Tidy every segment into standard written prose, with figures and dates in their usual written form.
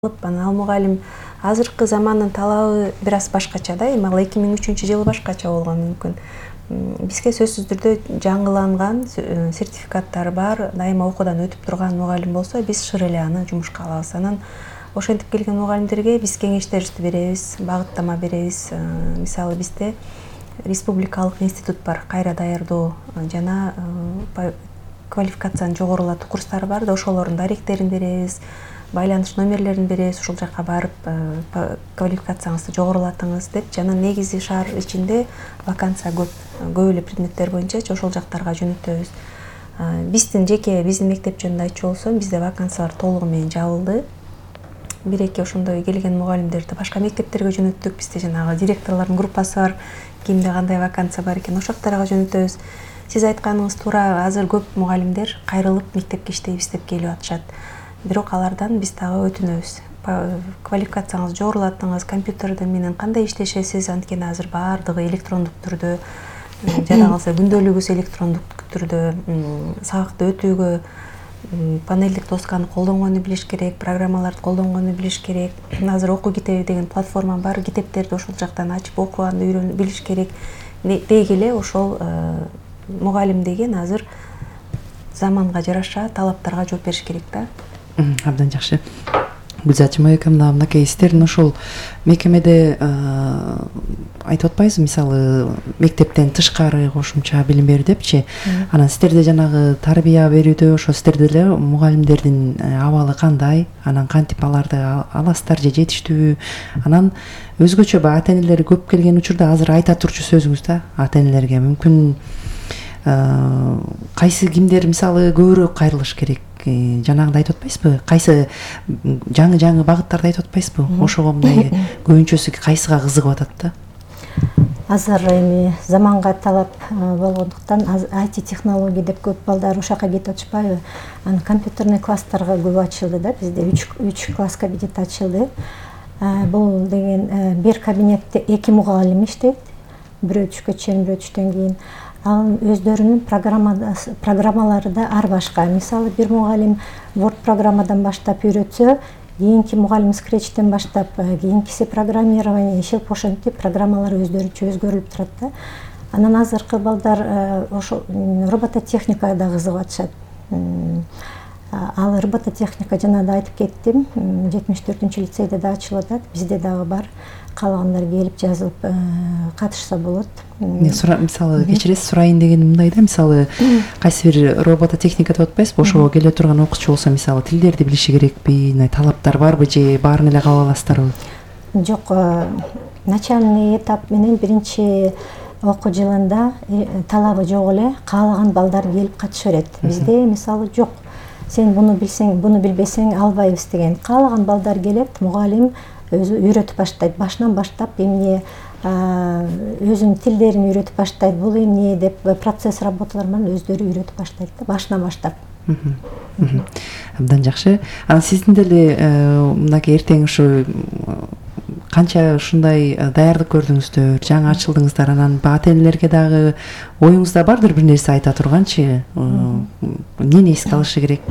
Анан ал мугалим азыркы замандын талабы бир аз башкача да, эми ал 2003-жылы башкача болгон мүмкүн. Бизге сөзсүз түрдө жаңыланган сертификаттары бар, дайыма окуудан өтүп турган мугалим болсо, биз шыр эле аны жумушка алабыз. Анан ошентип келген мугалимдерге биз кеңештерибизди беребиз, багыттама беребиз. Мисалы бизде республикалык институт бар, кайра даярдоо жана квалификацияны жогорулатуу курстары бар да, ошолордун даректерин беребиз. Байланыш номерлерин беребиз, ушул жака барып квалификацияңызды жогорулатыңыз деп. Жана негизи шаар ичинде вакансия көп эле предметтер боюнча ошол жактарга жөнөтөбүз. Биздин мектеп жөнүндө айтчу болсом, бизде вакансиялар толугу менен жабылды. Бир-эки ошондой келген мугалимдерди башка мектептерге жөнөттүк. Бизде жанагы директорлордун группасы бар, кимде кандай вакансия бар экен, ошол жактарга жөнөтөбүз. Сиз айтканыңыз туура, азыр көп мугалимдер кайрылып мектепке иштейбиз деп келип атышат. Бирок алардан биз дагы өтүнөбүз. Квалификацияңызды жогорулатыңыз, компьютер менен кандай иштешесиз, анткени азыр баардыгы электрондук түрдө, жада калса күндөлүгүбүз электрондук түрдө, сабакты өтүүгө панелдик досканы колдонгонду билиш керек, программаларды колдонгонду билиш керек. Азыр окуу китеби деген платформа бар, китептерди ошол жактан ачып окуганды билиш керек. Деги эле ошол мугалим деген азыр заманга жараша талаптарга жооп бериш керек да. Абдан жакшы. Гүлзат Майкам, мынакей сиздердин ошол мекемеде айтып атпайсызбы, мисалы мектептен тышкары кошумча билим берүү депчи. Анан сиздерде жанагы тарбия берүүдө ошо сиздерде эле мугалимдердин абалы кандай, анан кантип аларды аласыздар же жетиштүүбү? Анан өзгөчө ата энелери көп келген учурда азыр айта турчу сөзүңүз да ата энелерге мүмкүн кайсы кимдер мисалы көбүрөөк кайрылыш керек? Жанагындай айтып атпайсызбы? Кайсы жаңы багыттарды айтып атпайсызбы? Ошого мындай көбүнчөсү кайсыга кызыгып атат да? Азыр эми заманга талап болгондуктан IT технология деп көп балдар ошака кетип атышпайбы? Анан компьютерный класстарга көп ачылды да, бизде 3 класс кабинет ачылды. Бул деген бир кабинетте 2 мугалим иштейт. Бирөө түшкө чейин, бирөө түштөн кийин. Ал өздөрүнүн программалары да ар башка. Мисалы бир мугалим Word программадан баштап үйрөтсө, кийинки мугалим Scratch'тен баштап, кийинкиси программирование, ошентип программалар өздөрүнчө өзгөрүлүп турат да. Анан азыркы балдар ошо робототехникада кызыгып атышат. Ал робототехника жана да айтып кеттим, 74-лицейде да ачылып атат, бизде дагы бар. Каалагандар келип жазылып катышса болот. Мисалы кечиресиз, сурайын дегеним мындай да, мисалы кайсы бир робототехника деп атпайсызбы, ошого келе турган окуучу болсо, мисалы тилдерди билиши керекпи, талаптар барбы же баарын эле кабыл аласыздарбы? Жок, начальный этап менен биринчи окуу жылында талабы жок эле, каалаган балдар келип катыша берет. Бизде мисалы жок. Сен буну билсең, буну билбесең албайбыз деген. Каалаган балдар келет, мугалим өзү үйрөтүп баштайт. Башынан баштап эмне өзүнүн тилдерин үйрөтүп баштайт. Бул эмне деп процесс работалар менен өздөрү үйрөтүп баштайт да, башынан баштап. Абдан жакшы. Анан сиздин деле мынакей эртең ушу канча ушундай даярдык көрдүңүздөр, жаңы ачылдыңыздар, анан ата энелерге дагы оюңузда бардыр бир нерсе айта турганчы, эмнени эске алышы керек?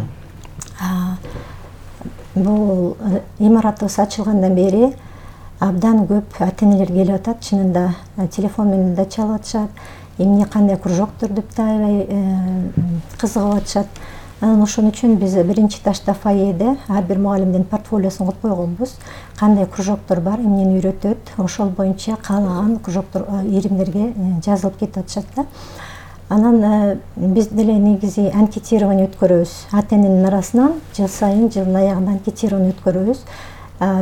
Бул имаратыбыз ачылгандан бери абдан көп ата энелер келип атат, чынында телефон менен да чалып атышат, эмне кандай кружоктор деп да аябай кызыгып атышат. Анан ошон үчүн биз биринчи этажда фойеде ар бир мугалимдин портфолиосун кылып койгонбуз. Кандай кружоктор бар, эмнени үйрөтөт, ошол боюнча каалаган кружоктор иримдерге жазылып кетип атышат да. Анан биз деле негизи анкетирование өткөрөбүз. Ата эненин арасынан жыл сайын, жылдын аягында анкетирование өткөрөбүз.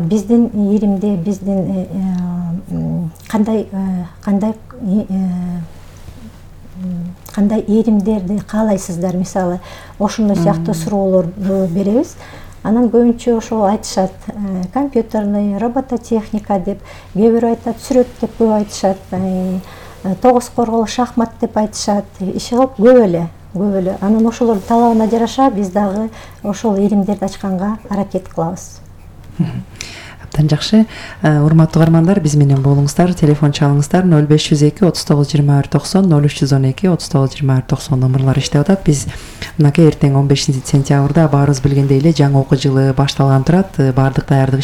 Биздин иримде, биздин кандай иримдерди каалайсыздар, мисалы, ошондой сыяктуу суроолорду беребиз. Анан көбүнчө ошол айтышат, компьютерный, робототехника деп, кээ бирөө айтат, сүрөт деп көп айтышат, тогуз коргол, шахмат деп айтышат, иши кылып көп эле. Анан ошолордун талабына жараша биз дагы ошол иримдерди ачканга аракет кылабыз. Абдан жакшы. Урматтуу угармандар, биз менен болуңуздар, телефон чалыңыздар 0502 39 21 90 0312 39 21 90 номерлар иштеп атат. Биз мынакей эртең 15 сентябрда баарыбыз билгендей эле жаңы окуу жылы башталган турат. Баардык даярдык